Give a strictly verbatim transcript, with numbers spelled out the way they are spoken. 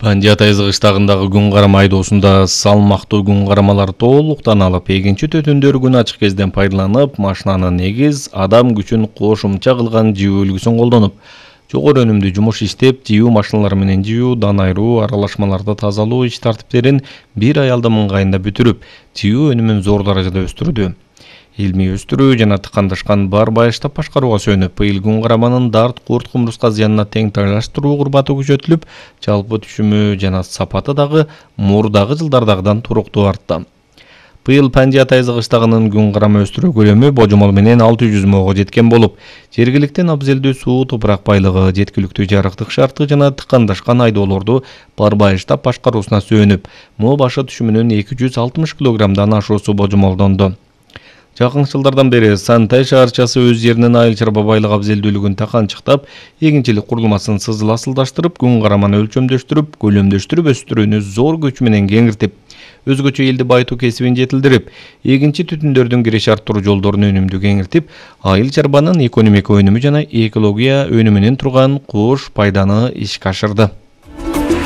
Пандия Тайзы кыштагындагы күн карама айдоосунда салмактуу күн карамалар толуктан алып, экинчи төтүндөр күн ачык кезден пайдаланып, машинанын негиз адам күчүн кошумча кылган жөө үлгүсүн колдонуп, жогору өнүмдүү жумуш иштеп, жөө машиналары менен жөө, дан айыруу, аралашмаларды тазалоо иш тартиптерин бир аялдын ыңгайында бүтүрүп, жөө өнүмүн зор даражада өстүрдү. Илмий өстүрүү жана тыкандашкан бар байыштап башкарууга сүйөнүп, быйыл күн караманын дарт, курт, кумурска зыянына тең тайлаштыруу курбаты күчөтүлүп, жалпы түшүмү жана сапаты дагы мурдагы жылдардагыдан туруктуу артты. Быйыл Пандия Тайзы кыштагынын күн карама өстүрүү көлөмү божомол менен алты жүз мыңга жеткен болуп, жергиликтен абзелдүү суу, топурак байлыгы, жеткиликтүү жарыктык шарты жана тыкандашкан айдоолорду бар байыштап башкаруусуна сүйөнүп, мо башы түшүмүнүн эки жүз алтымыш килограммдан ашуусу божомолдонду. Жакын жылдардан бери Сантай шаарчасы өз жеринин айыл чарба байлык абзелдүүлүгүн таканчыктап, эгинчилик курулмасын сызыл-асылдаштырып, күн караманы өлчөмдөштүрүп, көлөмдөштүрүп өстүрүүнү зор күч менен кеңиртип, өзгөчө элди байытуу кесибин жетилдирип, эгинчи түтүндөрдүн киреш арттыруу жолдорун өнүмдүү кеңиртип, айыл чарбанын экономика өнүмү жана экология өнүмүнөн турган кош пайданы ишке ашырды.